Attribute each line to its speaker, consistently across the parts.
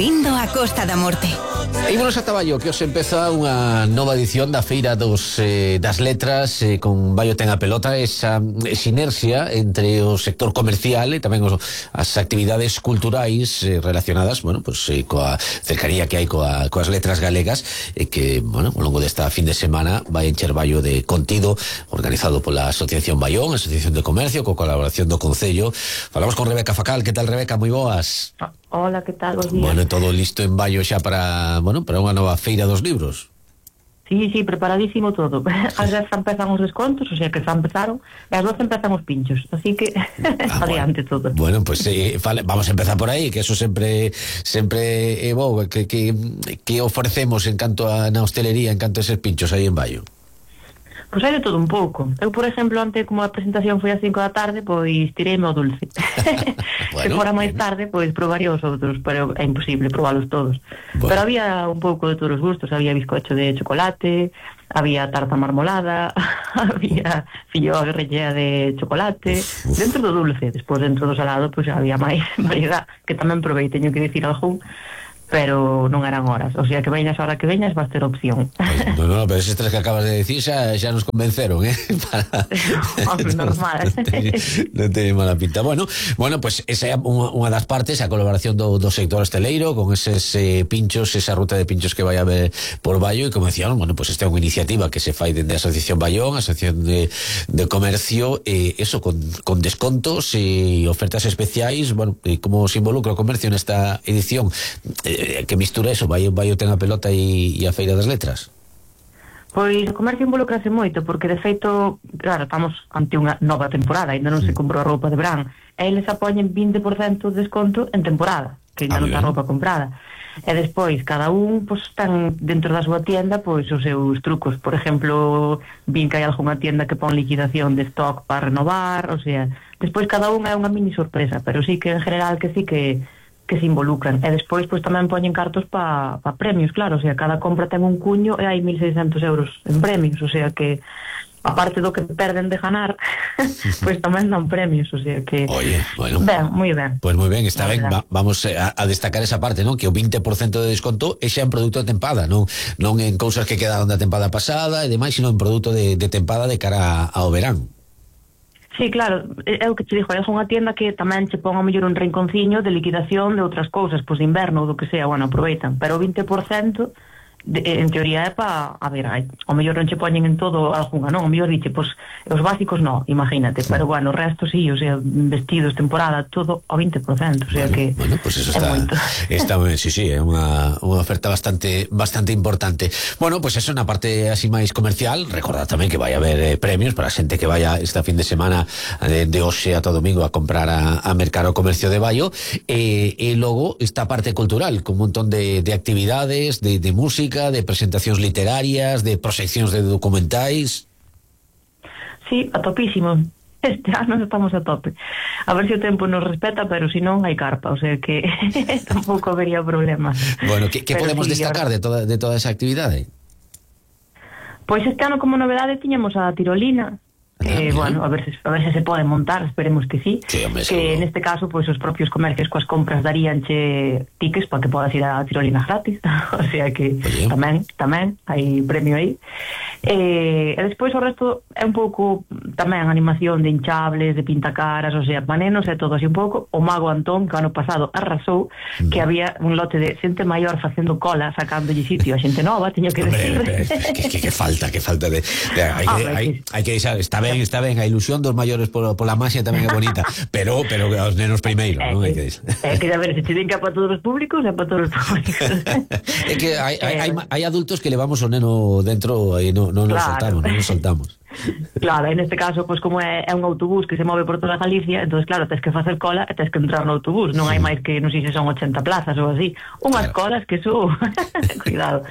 Speaker 1: Vindo a Costa da Morte.
Speaker 2: Ímonos a Taballo, que os empeza unha nova edición da Feira das Letras, con Baio ten a pelota, esa sinerxia entre o sector comercial e tamén as actividades culturais relacionadas, bueno, pues, coa cercanía que hai coas letras galegas, que, bueno, ao longo desta fin de semana vai encher Baio de contido, organizado pola Asociación Baión, Asociación de Comercio, coa colaboración do Concello. Falamos con Rebeca Facal. Que tal, Rebeca? Moi boas.
Speaker 3: Hola, que tal? Bos días.
Speaker 2: Bueno, todo listo en Baio xa para unha nova feira dos libros.
Speaker 3: Sí, preparadísimo todo. As 10 empezan os descontos, o sea que xa empezaron, e as 12 empezan os pinchos, así que adiante todo.
Speaker 2: Bueno, pues vamos a empezar por aí, que eso sempre é bo, que ofrecemos en canto a na hostelería, en canto a eses pinchos aí en Baio.
Speaker 3: Pois hai de todo un pouco. Eu, por exemplo, antes, como a presentación foi ás 5 da tarde, pois tireime ao dulce. Bueno, se fora máis tarde, pois probaría os outros, pero é imposible probalos todos. Bueno. Pero había un pouco de todos os gustos, había bizcocho de chocolate, había tarta marmolada, había filloa rellea de chocolate, dentro do dulce. Despois, dentro do salado, pois había máis variedade, que tamén provei, teño que dicir algún, pero non eran horas, o sea que veñas a hora que veñas vas ter opción.
Speaker 2: No, pero esos tres que acabas de decir xa nos convenceron,
Speaker 3: Normal.
Speaker 2: Non teñen mala pinta. Bueno, pues esa é unha das partes, a colaboración do sector hosteleiro con eses pinchos, esa ruta de pinchos que vai a haber por Baio, e como decían, bueno, pues esta é unha iniciativa que se fai dende a Asociación Baión, Asociación de Comercio, eso con descontos e ofertas especiais. Bueno, como se involucra o comercio nesta edición, que mistura eso, Baio ten a pelota e a Feira das Letras?
Speaker 3: Pois o comercio involucrase moito, porque de feito, claro, estamos ante unha nova temporada, ainda non se comprou a roupa de verán, e eles apoñen 20% de desconto en temporada, que ainda non está a roupa comprada. E despois, cada un, pois, ten dentro da súa tienda, pois, os seus trucos. Por exemplo, vin que hai algunha tienda que pon liquidación de stock para renovar, o sea, despois cada un é unha mini sorpresa, pero sí que en general que sí que se involucran. E despois pois tamén poñen cartos para premios, claro, o sea, cada compra ten un cuño e hai 1.600 euros en premios, o sea que aparte do que perden de ganar, pois tamén dan premios, o sea que
Speaker 2: oye, bueno,
Speaker 3: ben, moi ben.
Speaker 2: Pois moi ben, está ben, vamos a destacar esa parte, non? Que o 20% de desconto é xa en produto de tempada, non en cousas que quedaron da tempada pasada e demais, sino en produto de tempada de cara ao verán.
Speaker 3: Sí, claro, é o que te dixo, é unha tienda que tamén che pon a mellor un rinconciño de liquidación de outras cousas, pois de inverno ou do que sea, bueno, aproveitan, pero o 20% en teoría é para, a ver, o mellor non che poñen en todo algunha, non? O mellor diche, pois, os básicos non, imagínate, pero bueno, o resto sí, o sea, vestidos, temporada, todo ao 20%, o sea que
Speaker 2: bueno, pues eso está sí, é unha oferta bastante importante. Bueno, pues eso na parte así máis comercial. Recordad tamén que vai haber premios para a xente que vaya esta fin de semana de hoxe ata domingo a comprar a mercar o comercio de Baio, e logo esta parte cultural con un montón de actividades, de música, de presentacións literarias, de proxeccións de documentais.
Speaker 3: Sí, a topísimo. Este ano estamos a tope. A ver se o tempo nos respeta, pero se non hai carpa, o sea que tampouco habería problema.
Speaker 2: Bueno, que podemos destacar de toda esa actividade?
Speaker 3: Pois este ano como novedade tiñamos a tirolina, que, bueno, a ver se se pode montar, esperemos que sí,
Speaker 2: hombre,
Speaker 3: que neste caso, pois os propios comercios coas compras daríanche tickets para que podas ir a tirolina gratis, o sea que tamén hai premio aí. E despois o resto é un pouco tamén animación de hinchables, de pintacaras, o sea, panenos e todo así un pouco. O mago Antón, que o ano pasado arrasou, que había un lote de xente maior facendo cola, sacándolle sitio a xente nova, teño que decir.
Speaker 2: Que falta de hai que deixar, está ben, a ilusión dos maiores pola maxia tamén é bonita, pero os nenos primeiro, non hai que decir.
Speaker 3: É que a ver, se te din que é para todos os públicos, é para todos os públicos.
Speaker 2: É que hai adultos que levamos o neno dentro e non nos soltamos.
Speaker 3: Claro, en este caso, pois como é un autobús que se move por toda Galicia, entonces claro, tens que facer cola e tens que entrar no autobús, non hai máis que, non sei se son 80 plazas ou así, unhas colas que cuidado,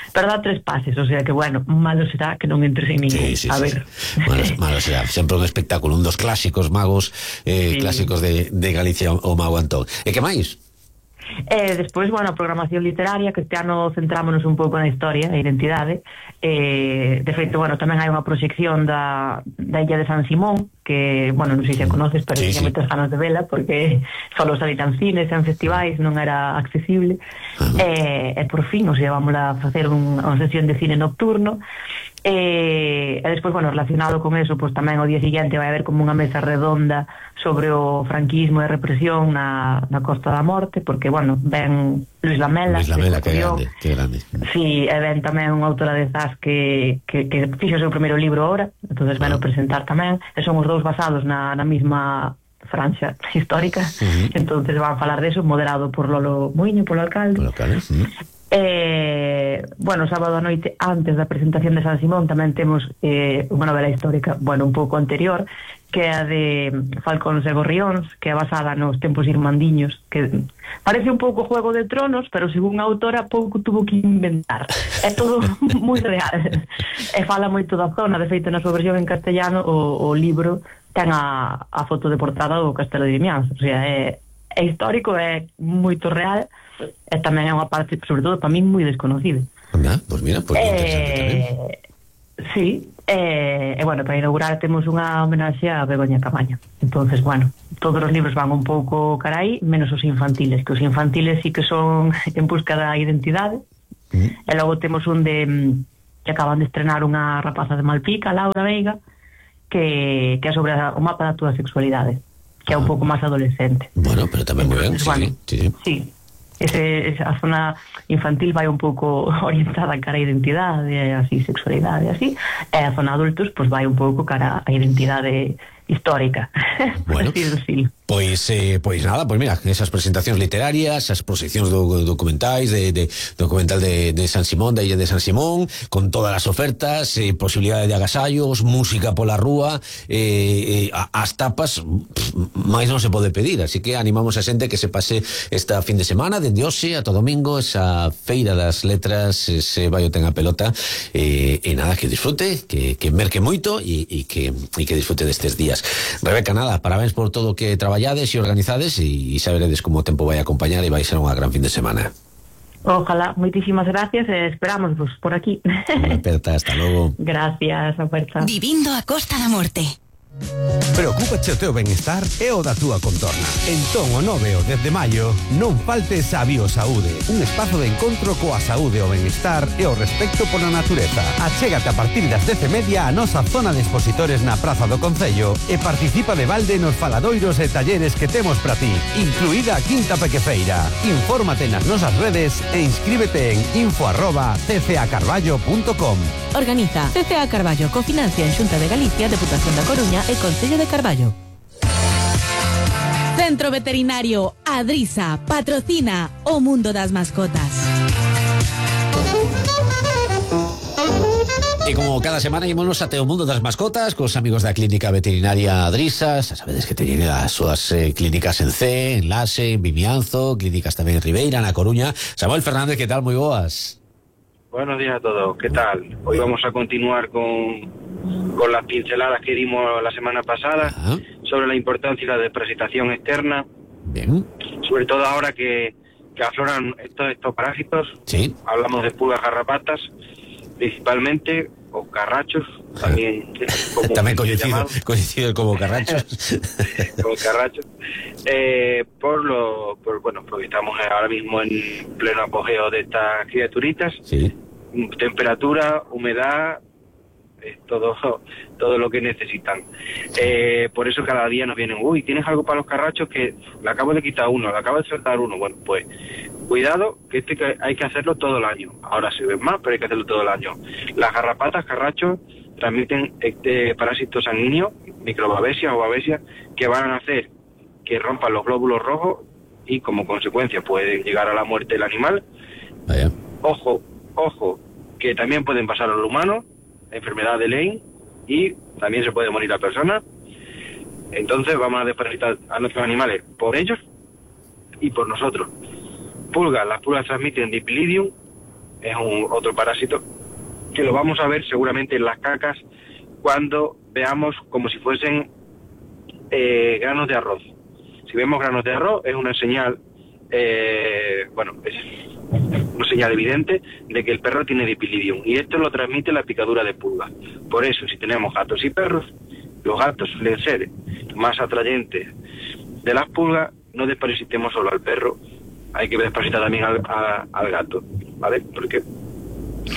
Speaker 3: pero dá 3 pases, o sea que bueno, malo será que non entres en ningún, a ver.
Speaker 2: Malo será, sempre un espectáculo, un dos clásicos magos clásicos de Galicia, o mago Antón. E que máis?
Speaker 3: Despois, bueno, a programación literaria, que este ano centrámonos un pouco na historia e identidade. De feito, bueno, tamén hai unha proxección da Illa de San Simón, que, bueno, non sei se a conoces, pero tiña moitas ganas de vela, porque só salían cines, en festivais, non era accesible. E por fin, o sea, vamos a facer unha sesión de cine nocturno. E despois, bueno, relacionado con eso, pues tamén o día seguinte vai haber como unha mesa redonda sobre o franquismo e represión na Costa da Morte, porque, bueno, ven Luis Lamela,
Speaker 2: que grande.
Speaker 3: Sí, e ven tamén unha autora de Zas que fixo o seu primeiro libro ahora, entonces ven a presentar tamén, e son os dous basados na mesma franxa histórica, entonces van a falar deso, moderado por Lolo Muiño, polo alcalde. Bueno, sábado a noite, antes da presentación de San Simón, tamén temos unha novela histórica, bueno, un pouco anterior, que é a de Falcóns e Gorrións, que é basada nos tempos irmandiños, que parece un pouco Juego de Tronos, pero según a autora pouco tuvo que inventar, é todo moi real, e fala moito da zona. De feito, na súa versión en castellano o libro ten a foto de portada do Castelo de Vimianzo, o sea, é histórico, é moito real, e tamén é unha parte, sobre todo para min, moi desconocida.
Speaker 2: Pois mira, pois interesante tamén.
Speaker 3: Sí, e bueno, para inaugurar temos unha homenaxe a Begoña Camaño. Entonces, bueno, todos os libros van un pouco cara aí, menos os infantiles, que os infantiles sí que son en busca da identidade. E logo temos un que acaban de estrenar unha rapaza de Malpica, Laura Veiga, que é sobre o mapa da túa sexualidade, que é un pouco máis adolescente.
Speaker 2: Bueno, pero tamén moi ben,
Speaker 3: sí. Esa zona infantil vai un pouco orientada cara a identidade, así, sexualidade, así, e a zona adultos pois vai un pouco cara a identidade histórica.
Speaker 2: Bueno, pois nada, pois mira, esas presentacións literarias, as proxeccións documentais documental de San Simón, da Illa de San Simón, con todas as ofertas, posibilidade de agasallos, música pola rúa, as tapas, máis non se pode pedir, así que animamos a xente que se pase esta fin de semana, dende hoxe ata domingo, esa feira das letras, ese vai o ten a pelota, e nada, que disfrute, que merque moito e que disfrute destes días. Rebeca, nada, parabéns por todo o que traballades e organizades, e xa veredes como o tempo vai acompañar e vai ser unha gran fin de semana.
Speaker 3: Ojalá, moitísimas gracias, e esperamos vos por aquí.
Speaker 2: Unha aperta, hasta logo.
Speaker 3: Gracias, aperta.
Speaker 1: Vivindo a Costa da Morte.
Speaker 4: Preocúpache o teu benestar e o da túa contorna. Entón, o 9 e o 10 de maio, non faltes a Biosaúde, un espazo de encontro coa saúde, o benestar e o respecto pola natureza. Achégate a partir das 10:30 a nosa zona de expositores na Praza do Concello e participa de balde nos faladoiros e talleres que temos para ti, incluída a Quinta Pequefeira. Infórmate nas nosas redes e inscríbete en info@ccacarballo.com.
Speaker 1: Organiza CCA Carballo, cofinancia en Xunta de Galicia, Deputación da Coruña e Concello de Carballo. Centro Veterinario Adrisa patrocina o mundo das mascotas.
Speaker 2: E como cada semana ímonos até o mundo das mascotas cos amigos da Clínica Veterinaria Adrisa. Xa sabedes que teñen as súas clínicas en C, en Laxe, en Vimianzo, clínicas tamén en Ribeira, na Coruña. Samuel Fernández, que tal? Moi boas.
Speaker 5: Buenos días a todos, ¿qué tal? Hoy vamos a continuar con las pinceladas que dimos la semana pasada sobre la importancia y la desparasitación externa.
Speaker 2: Bien.
Speaker 5: Sobre todo ahora que afloran estos parásitos.
Speaker 2: Sí.
Speaker 5: Hablamos de pulgas garrapatas, principalmente, o carrachos, también.
Speaker 2: También coincido como carrachos.
Speaker 5: Como carrachos. Porque estamos ahora mismo en pleno apogeo de estas criaturitas.
Speaker 2: Sí.
Speaker 5: Temperatura, humedad, todo lo que necesitan. Por eso cada día nos vienen, ¿tienes algo para los carrachos? Que le acabo de quitar uno, le acabo de soltar uno. Bueno, pues cuidado, que hay que hacerlo todo el año. Ahora se ven más, pero hay que hacerlo todo el año. Las garrapatas, carrachos, transmiten parásitos sanguíneos, microbabesias o babesias, que van a hacer que rompan los glóbulos rojos y como consecuencia pueden llegar a la muerte del animal.
Speaker 2: Vaya.
Speaker 5: Ojo, que también pueden pasar a los humanos, enfermedad de Lyme, y también se puede morir la persona. Entonces vamos a desparasitar a nuestros animales por ellos y por nosotros. Las pulgas transmiten Dipilidium, es otro parásito que lo vamos a ver seguramente en las cacas cuando veamos como si fuesen granos de arroz. Si vemos granos de arroz es una señal bueno, es una señal evidente de que el perro tiene dipilidium, y esto lo transmite la picadura de pulga. Por eso, si tenemos gatos y perros, los gatos suelen ser más atrayentes de las pulgas. No desparasitemos solo al perro, hay que desparasitar también al gato, ¿vale? Porque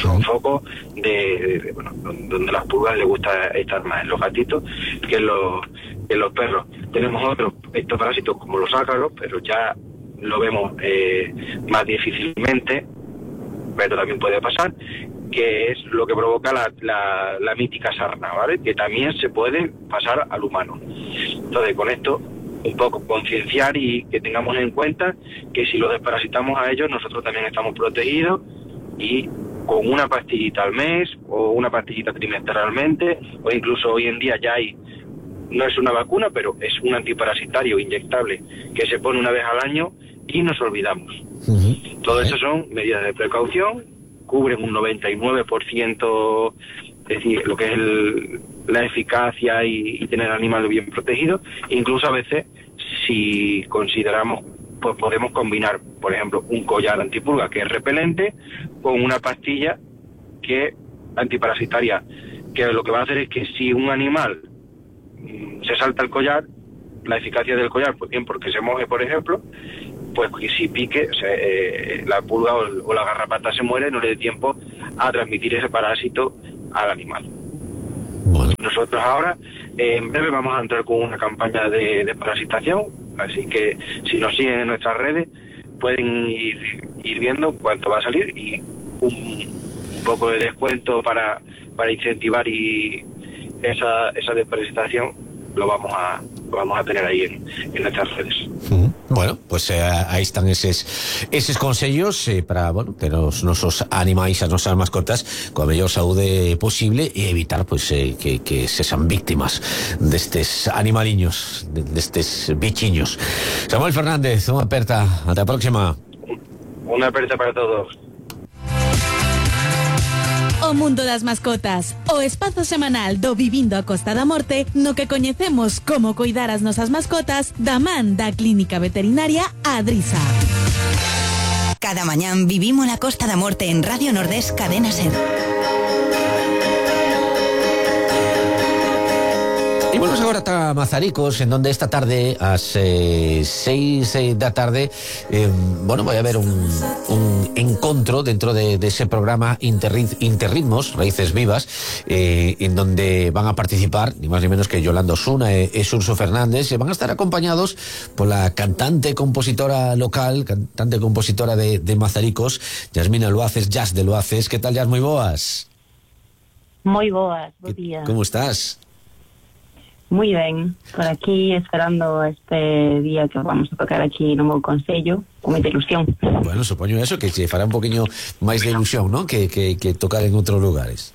Speaker 5: son focos bueno, donde las pulgas les gusta estar más en los gatitos que en los perros. Tenemos otros parásitos como los ácaros, pero ya lo vemos más difícilmente, pero también puede pasar, que es lo que provoca la mítica sarna, ¿vale? Que también se puede pasar al humano. Entonces, con esto, un poco concienciar y que tengamos en cuenta que si los desparasitamos a ellos, nosotros también estamos protegidos, y con una pastillita al mes o una pastillita trimestralmente, o incluso hoy en día ya hay, no es una vacuna, pero es un antiparasitario inyectable que se pone una vez al año y nos olvidamos. Todo eso son medidas de precaución, cubren un 99%, es decir, lo que es la eficacia y tener al animal bien protegido. Incluso a veces, si consideramos, pues podemos combinar, por ejemplo, un collar antipulga que es repelente con una pastilla que antiparasitaria, que lo que va a hacer es que si un animal se salta el collar, la eficacia del collar, pues bien, porque se moje, por ejemplo, pues que si pique, la pulga o la garrapata se muere, no le dé tiempo a transmitir ese parásito al animal. Bueno. Nosotros ahora, en breve, vamos a entrar con una campaña de parasitación, así que si nos siguen en nuestras redes, pueden ir viendo cuánto va a salir, y un poco de descuento para incentivar y esa desparasitación lo vamos a tener ahí en nuestras redes.
Speaker 2: Bueno, pues ahí están esos consejos para, bueno, que los nosos animais, as nosas mascotas, con a mellor saúde posible, e evitar, pues, que se sean víctimas destes animaliños, destes bichiños. Samuel Fernández, unha aperta, ata a próxima.
Speaker 5: Unha aperta para todos.
Speaker 1: O mundo das mascotas, o espazo semanal do Vivindo a Costa da Morte, no que coñecemos como coidar as nosas mascotas da man da Clínica Veterinaria Adrisa.
Speaker 6: Cada mañán vivimos la Costa da Morte en Radio Nordés Cadena Ser.
Speaker 2: Y volvemos agora ata Mazaricos, en donde esta tarde, ás 6 da tarde, bueno, vai haber un encontro dentro de ese programa Interritmos, Raíces Vivas, en donde van a participar ni más ni menos que Yolanda Osuna e Xurxo Fernández, e van a estar acompañados pola cantante compositora local, cantante compositora de Mazaricos, Yasmina Luaces, Jazz de Luaces. Que tal, Jazz? Moi boas.
Speaker 7: Moi boas, bo día.
Speaker 2: Como estás?
Speaker 7: Muy ben, por aquí esperando este día que vamos a tocar aquí no meu concello, con moita ilusión.
Speaker 2: Bueno, supoño eso, que se fará un poquinho máis de ilusión, ¿no? Que tocar en outros lugares.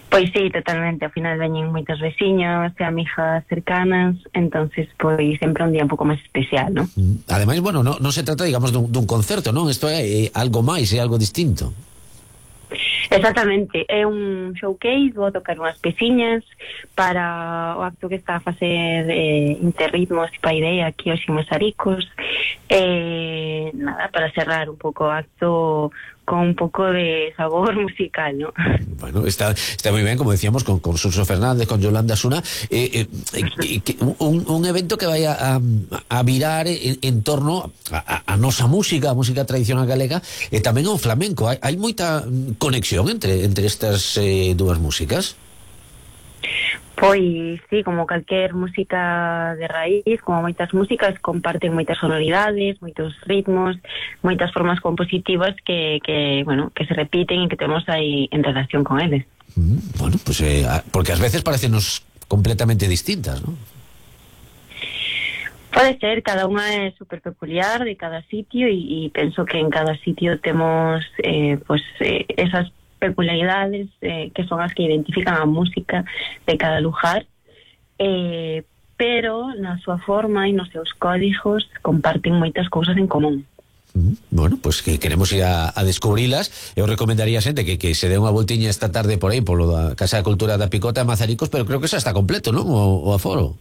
Speaker 7: Pois sí, totalmente, ao final veñen moitos veciños e amigas cercanas, entonces pois sempre un día un pouco máis especial, ¿no?
Speaker 2: Ademais, bueno, non se trata, digamos, dun concerto, non? Isto é algo máis, é algo distinto.
Speaker 7: Exactamente, é un showcase, vou tocar unhas peciñas para o acto que está a facer Interritmos e Paideia aquí hoxe en Mazaricos, nada, para cerrar un pouco o acto con un pouco de sabor musical, ¿no?
Speaker 2: Bueno, está moi ben, como decíamos, con Xurxo Fernández, con Yolanda Osuna, un evento que vai a virar en torno a nosa música, a música tradicional galega, e tamén ao flamenco. Hai moita conexión entre estas dúas músicas?
Speaker 7: Pois, sí, como calquer música de raíz, como moitas músicas, comparten moitas sonoridades, moitos ritmos, moitas formas compositivas que se repiten e que temos aí en relación con eles.
Speaker 2: Bueno, pues porque ás veces parecennos completamente distintas, ¿no?
Speaker 7: Pode ser, cada unha é super peculiar de cada sitio e penso que en cada sitio temos esas peculiaridades que son as que identifican a música de cada lugar, pero na súa forma e nos seus códigos comparten moitas cousas en común.
Speaker 2: Bueno, pues que queremos ir a descubrilas. Eu recomendaría a xente que se dé unha voltiña esta tarde por aí polo da Casa de Cultura da Picota de Mazaricos, pero creo que xa está completo, non? O aforo.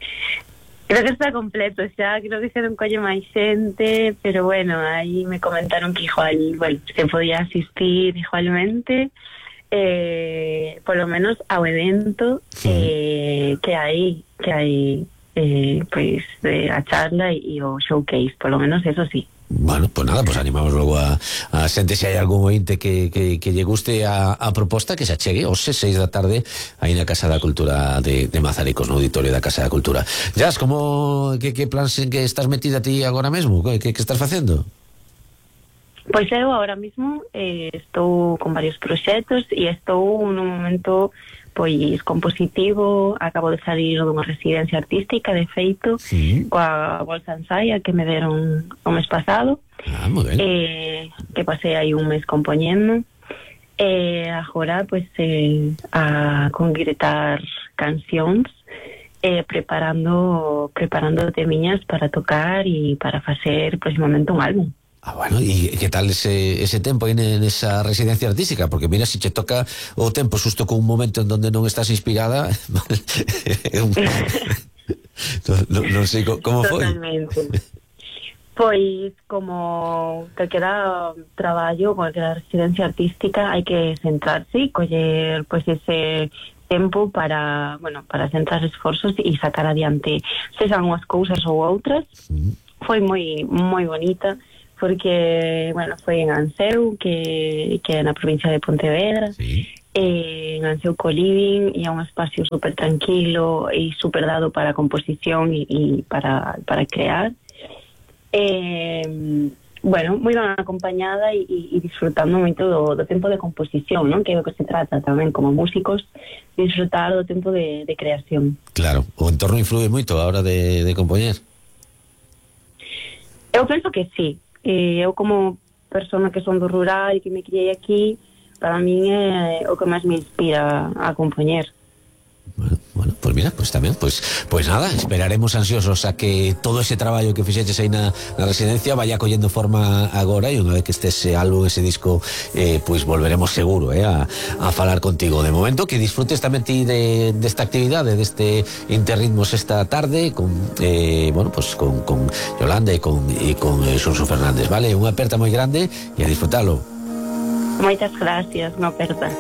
Speaker 7: Creo que está completo xa, creo que se non colle máis xente, pero bueno, aí me comentaron que igual, bueno, se podía asistir igualmente, polo menos ao evento que hai pois a charla e o showcase, polo menos eso sí.
Speaker 2: Bueno, pues nada, pues animamos logo a xente, se hai algún ointe que lle guste a proposta, que se achegue aos 6 da tarde aí na Casa da Cultura de Mazaricos, no auditorio da Casa da Cultura. Jazz, como que plans en que estás metida ti agora mesmo? Que estás facendo?
Speaker 7: Pois eu ahora mismo estou con varios proxectos e estou nun momento pois compositivo. Acabo de salir dunha residencia artística, de feito, coa Bolsa Ensaia que me deron o mes pasado,
Speaker 2: moi ben.
Speaker 7: que pasei aí un mes compoñendo, agora pois a concretar cancións, preparando temiñas para tocar e para facer próximamente un álbum.
Speaker 2: Bueno, e que tal ese tempo aí nesa residencia artística? Porque mira, se che toca o tempo xusto con un momento en donde non estás inspirada, non sei como foi.
Speaker 7: Totalmente. Pois, como calquera traballo, calquera residencia artística, hai que centrarse e coller pois ese tempo para centrar esforzos e sacar adiante sexan unhas cousas ou outras. Foi moi bonita, porque, bueno, foi en Anseu, que é na provincia de Pontevedra, en Anseu Co-Living, e é un espacio super tranquilo e super dado para composición e para crear. Bueno, moi ben acompañada e disfrutando moito do tempo de composición, non? Que é o que se trata tamén como músicos, disfrutar do tempo de creación.
Speaker 2: Claro, o entorno influe moito a hora de compoñer.
Speaker 7: Eu penso que sí. Eu como persona que son do rural e que me criei aquí, para min é o que máis me inspira a compoñer.
Speaker 2: Bueno, pues mira, pues tamén, pues nada, esperaremos ansiosos a que todo ese traballo que fixeches aí na residencia vaya collendo forma agora, e unha vez que este ese álbum, ese disco, pues volveremos seguro a falar contigo. De momento, que disfrutes tamén ti desta actividade, deste Interritmos esta tarde con con Yolanda e con Xunxo Fernández, vale? Unha aperta moi grande e a disfrutalo.
Speaker 7: Moitas gracias, unha aperta.